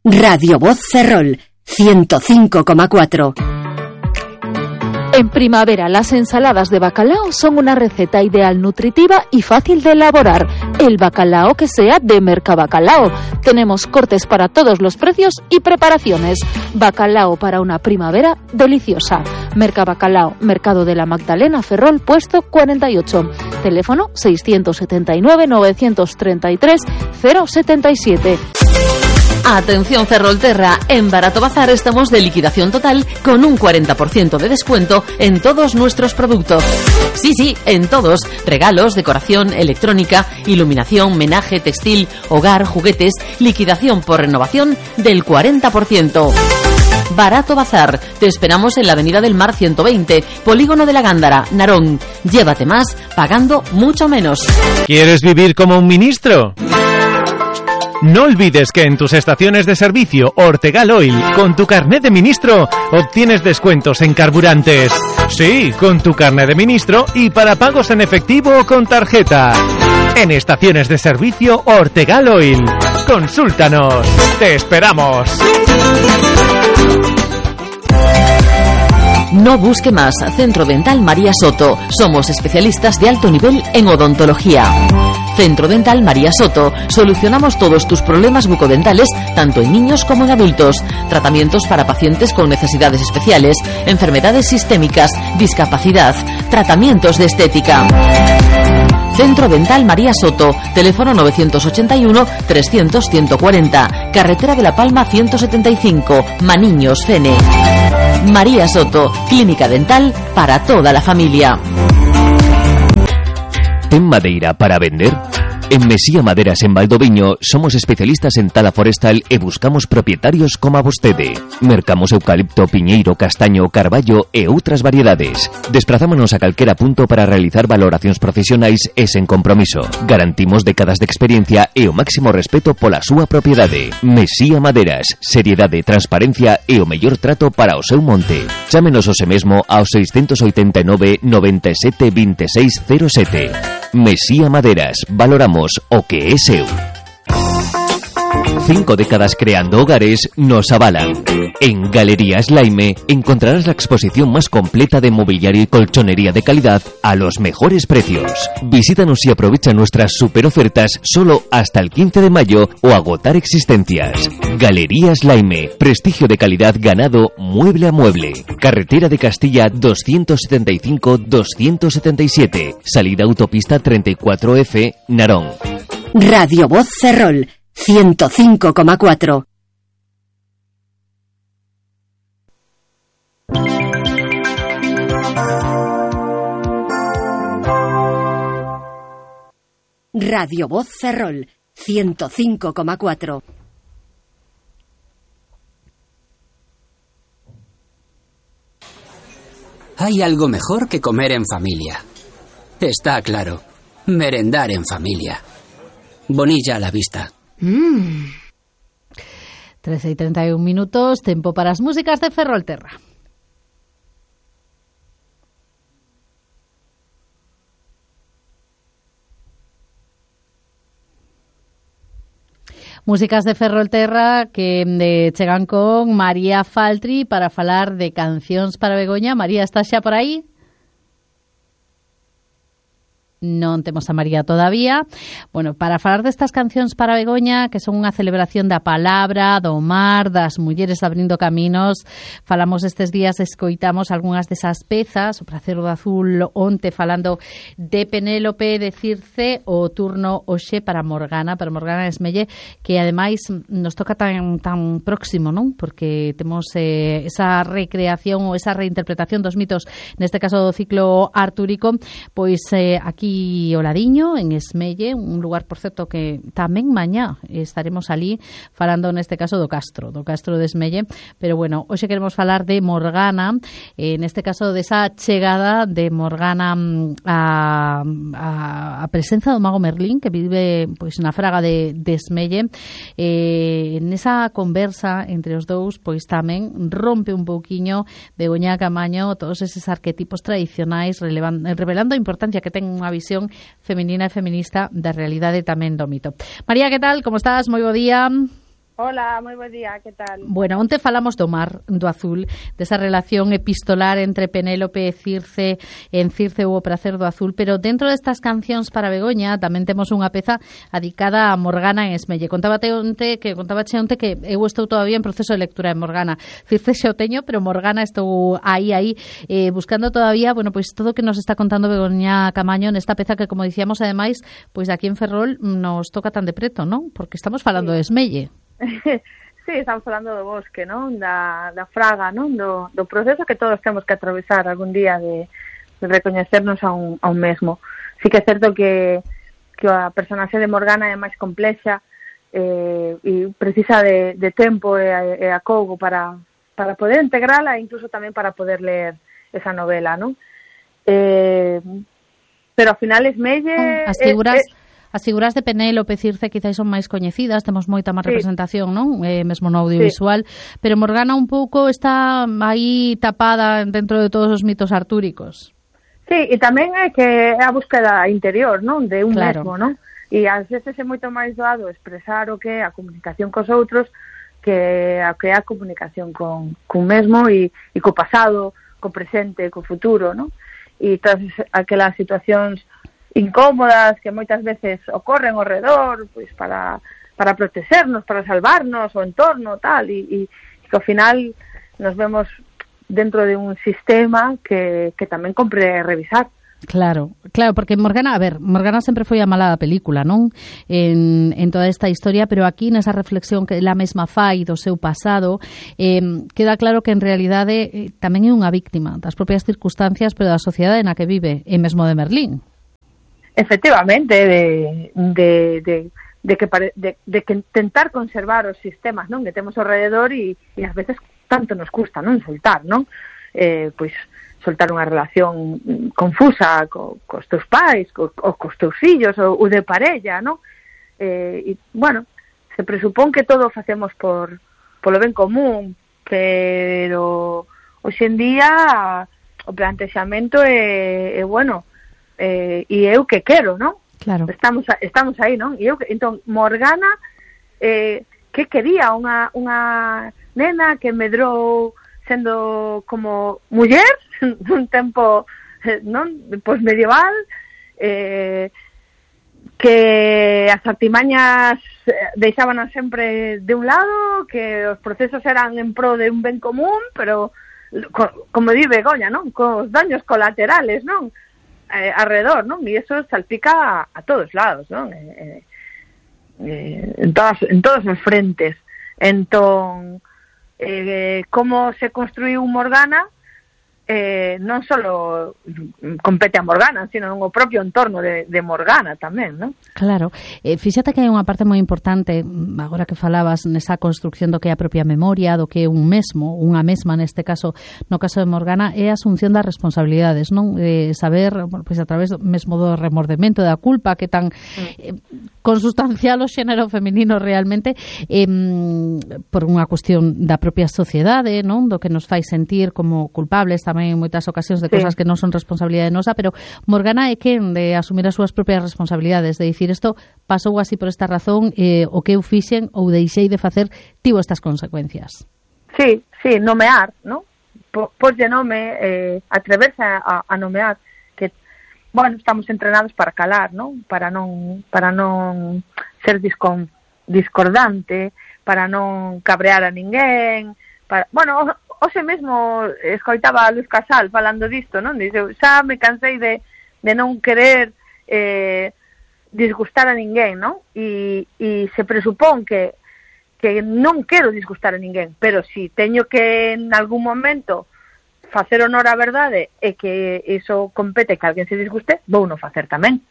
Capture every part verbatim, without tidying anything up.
Radio Voz Ferrol, ciento cinco coma cuatro. En primavera, las ensaladas de bacalao son una receta ideal, nutritiva y fácil de elaborar. El bacalao que sea de Mercabacalao. Tenemos cortes para todos los precios y preparaciones. Bacalao para una primavera deliciosa. Mercabacalao, Mercado de la Magdalena, Ferrol, puesto cuarenta y ocho. Teléfono seiscientos setenta y nueve, novecientos treinta y tres, cero setenta y siete. Atención Ferrolterra, en Barato Bazar estamos de liquidación total con un cuarenta por ciento de descuento en todos nuestros productos. Sí, sí, en todos. Regalos, decoración, electrónica, iluminación, menaje, textil, hogar, juguetes, liquidación por renovación del cuarenta por ciento. Barato Bazar, te esperamos en la Avenida del Mar ciento veinte, Polígono de la Gándara, Narón. Llévate más, pagando mucho menos. ¿Quieres vivir como un ministro? No olvides que en tus estaciones de servicio Ortegal Oil, con tu carnet de ministro, obtienes descuentos en carburantes. Sí, con tu carnet de ministro y para pagos en efectivo o con tarjeta. En estaciones de servicio Ortegal Oil. Consúltanos. ¡Te esperamos! No busque más. Centro Dental María Soto. Somos especialistas de alto nivel en odontología. Centro Dental María Soto. Solucionamos todos tus problemas bucodentales, tanto en niños como en adultos. Tratamientos para pacientes con necesidades especiales, enfermedades sistémicas, discapacidad, tratamientos de estética. Centro Dental María Soto. Teléfono novecientos ochenta y uno, trescientos, ciento cuarenta. Carretera de la Palma ciento setenta y cinco. Maniños, Fene. María Soto. Clínica dental para toda la familia. ¿Ten madeira para vender? En Mesía Maderas en Valdoviño somos especialistas en tala forestal e buscamos propietarios como a vostede. Mercamos eucalipto, piñeiro, castaño, carballo e outras variedades. Desprazámonos a calquera punto para realizar valoracións profesionais e sen compromiso. Garantimos décadas de experiencia e o máximo respeto pola súa propiedade. Mesía Maderas, seriedade, transparencia e o mellor trato para o seu monte. Chámenos hoxe mesmo ao seiscentos oitenta e nove, noventa e sete, vinte e seis, cero sete. Mesía Maderas, valoramos o que é seu. Cinco décadas creando hogares nos avalan. En Galerías Laime encontrarás la exposición más completa de mobiliario y colchonería de calidad a los mejores precios. Visítanos y aprovecha nuestras super ofertas solo hasta el quince de mayo o agotar existencias. Galerías Laime, prestigio de calidad ganado mueble a mueble. Carretera de Castilla doscientos setenta y cinco, doscientos setenta y siete. Salida autopista treinta y cuatro F, Narón. Radio Voz Ferrol, ciento cinco coma cuatro. Radio Voz Ferrol, ciento cinco coma cuatro. Hay algo mejor que comer en familia. Está claro, merendar en familia. Bonilla a la vista. Mm. trece y treinta y un minutos, tempo para as músicas de Ferrolterra. Músicas de Ferrolterra que eh, chegan con María Faltri para falar de cancións para Begoña. María, estás xa por aí? Non temos a María todavía. Bueno, para falar destas cancións para Begoña, que son unha celebración da palabra, do mar, das mulleres abrindo caminos, falamos estes días, escoitamos algunhas desas pezas, o Pracer do Azul onte falando de Penélope, de Circe, o turno hoxe para Morgana, para Morgana Esmelle, que ademais nos toca tan tan próximo, non? Porque temos eh, esa recreación ou esa reinterpretación dos mitos, neste caso do ciclo artúrico, pois eh, aquí o ladiño, en Esmelle, un lugar, por certo, que tamén mañá estaremos ali falando neste caso do Castro, do Castro de Esmelle, pero bueno, hoxe queremos falar de Morgana, eh, neste caso desa chegada de Morgana a, a, a presenza do mago Merlín, que vive pois na fraga de, de Esmelle. Eh, nesa conversa entre os dous, pois tamén rompe un pouquiño Begoña Camaño todos eses arquetipos tradicionais, relevan, revelando a importancia que ten unha visión feminina e feminista da realidade tamén do mito. María, que tal? Como estás? Moi bo día. Hola, moi bo día, que tal? Bueno, onte falamos do mar, do azul, desa relación epistolar entre Penélope e Circe, en Circe hubo prazer do azul, pero dentro destas cancións para Begoña tamén temos unha peza adicada a Morgana en Esmelle. Contábate onte que contábache onte que eu estou todavía en proceso de lectura de Morgana. Circe xa o teño, pero Morgana estou aí aí eh, buscando todavía, bueno, pois todo o que nos está contando Begoña Camaño nesta peza que, como dicíamos, ademais, pois aquí en Ferrol nos toca tan de preto, non? Porque estamos falando sí. de Esmelle. Sí, estamos falando do bosque, non? Da, da fraga, non? Do, do proceso que todos temos que atravesar algún día de, de recoñecernos a un, a un mesmo. Sí que é certo que, que a personaxe de Morgana é máis complexa eh, e precisa de, de tempo e, e acougo para, para poder integrala e incluso tamén para poder ler esa novela, non? Eh, pero ao final Esmelle... As figuras... Eh, eh, As figuras de Penélope e Circe quizás son máis coñecidas, temos moita máis sí. representación, non? Eh, mesmo no audiovisual, sí. pero Morgana un pouco está aí tapada dentro de todos os mitos artúricos. Sí, e tamén é que é a búsqueda interior, non? De un claro. mesmo, non? E ás veces é moito máis doado expresar o que é a comunicación cos outros que a que é a comunicación con, con mesmo e, e co pasado, co presente, co futuro, non? E todas aquelas situacións incómodas que moitas veces ocorren ao redor, pois para para protegernos, para salvarnos o entorno, tal, e, e, e que ao final nos vemos dentro de un sistema que, que tamén compre revisar. Claro, claro, porque Morgana, a ver, Morgana sempre foi a mala da película, non? En, en toda esta historia, pero aquí nesa reflexión que ela mesma fai do seu pasado, eh, queda claro que en realidade eh, tamén é unha víctima das propias circunstancias, pero da sociedade na que vive, e mesmo de Merlín. Efectivamente, de, de, de, de, que pare, de, de que tentar conservar os sistemas, non, que temos ao rededor e, e ás veces tanto nos custa, non, soltar, non? Eh, pois soltar unha relación confusa co, cos teus pais, co, ou cos teus fillos, ou, ou de parella, non? Eh, e, bueno, se presupón que todo o facemos por polo ben común, pero hoxe en día o plantexamento é, é bueno, Eh, e eu que quero, non? Claro. Estamos estamos aí, non? E eu entón Morgana eh, que quería unha unha nena que medrou sendo como muller nun tempo eh, non, pois medieval, eh, que as artimañas deixábanas sempre de un lado, que os procesos eran en pro de un ben común, pero co, como di Begoña, non? Cos daños colaterales, non? Eh, alrededor, non? E iso salpica a, a todos lados, non? Eh, eh, en todas en todos os frentes. Entón, eh, como se construiu Morgana eh, non só compete a Morgana, sino no propio entorno de, de Morgana tamén, non? Claro. Eh, fíxate que hai unha parte moi importante, agora que falabas nesa construcción do que é a propia memoria, do que é un mesmo, unha mesma neste caso, no caso de Morgana, é a asunción das responsabilidades, non? Eh, saber, bueno, pois a través mesmo do remordemento, da culpa, que tan eh, consustancial o xénero feminino realmente, eh, por unha cuestión da propia sociedade, non? Do que nos fai sentir como culpables tamén en moitas ocasións de sí. cosas que non son responsabilidade nosa, pero Morgana é quen de asumir as súas propias responsabilidades, de dicir isto pasou así por esta razón, eh, o que eu fixen ou deixei de facer tivo estas consecuencias. Sí, sí, nomear, ¿no? Porlle nome, eh, atreverse a, a nomear, que, bueno, estamos entrenados para calar, ¿no? Para non, para non ser discon, discordante, para non cabrear a ninguén, para, bueno, hoxe mesmo escoitaba a Luz Casal falando disto, non? Dice, xa me cansei de, de non querer eh, disgustar a ninguén, non? E, e se presupón que, que non quero disgustar a ninguén, pero si teño que en algún momento facer honor á verdade e que iso compete que alguén se disguste, vou non facer tamén.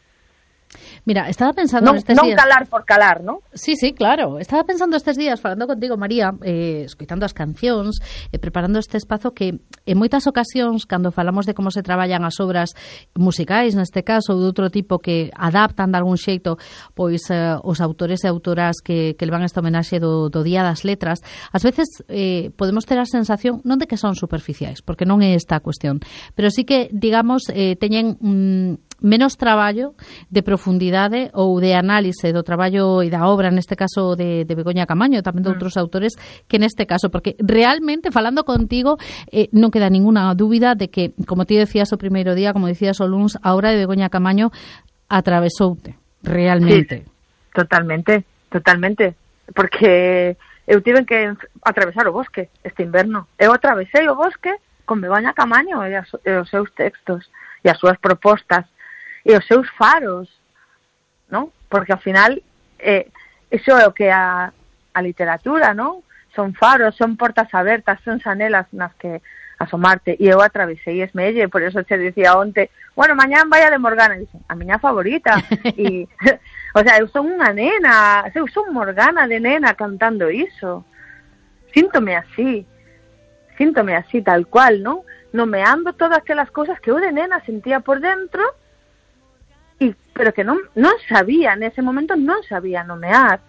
Mira, estaba pensando non, estes non días... Non calar por calar, ¿no? Sí, sí, claro. Estaba pensando estes días, falando contigo, María, eh, escoitando as cancións, eh, preparando este espazo, que en moitas ocasións, cando falamos de como se traballan as obras musicais, neste caso, ou de outro tipo, que adaptan de algún xeito pois eh, os autores e autoras que, que levan esta homenaxe do, do Día das Letras, ás veces eh, podemos ter a sensación non de que son superficiais, porque non é esta a cuestión, pero sí que, digamos, eh, teñen mm, menos traballo de profundidade ou de análise do traballo e da obra, neste caso de, de Begoña Camaño, tamén de outros mm. autores, que neste caso, porque realmente, falando contigo, eh, non queda ninguna dúbida de que, como ti decías o primeiro día, como decías o luns, a obra de Begoña Camaño atravesoute, realmente. Sí, totalmente, totalmente, porque eu tive que atravesar o bosque este inverno. Eu atravesei o bosque con Begoña Camaño e, as, e os seus textos e as súas propostas e os seus faros, non? Porque ao final eh, iso é o que a, a literatura, non? Son faros, son portas abertas, son xanelas nas que asomarte, e eu atravesei Esmelle, por eso che dicía onte, bueno, mañán vai a de Morgana, e dicen, a miña favorita, e, o sea, eu son unha nena, eu son Morgana de nena cantando iso, síntome así, síntome así, tal cual, non? Nomeando todas aquelas cousas que eu de nena sentía por dentro, y, pero que non, non sabía, nese momento non sabía nomear,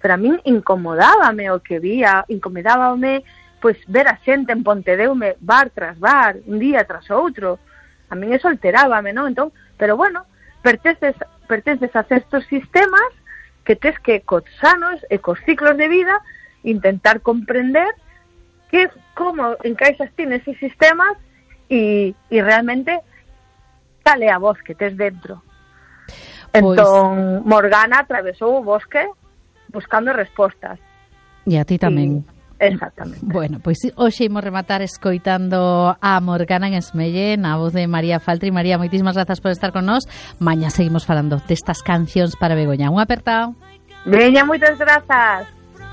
pero a min incomodábame o que vía, incomodábame pois ver a xente en Pontedeume bar tras bar, un día tras outro, a min eso alterábame, non? Entón, pero bueno, pertences, pertences a certos sistemas que tes que cos sanos e cos ciclos de vida intentar comprender que como encaixas ti neses sistemas e, e realmente tal é a voz que tes dentro. Entón, Morgana atravesou o bosque buscando respostas. E a ti tamén. E, exactamente. Bueno, pois hoxe imos rematar escoitando a Morgana en Esmelle, na voz de María Faltri. María, moitísimas grazas por estar con nós. Mañá seguimos falando destas cancións para Begoña. Un apertao. Veña, moitas grazas.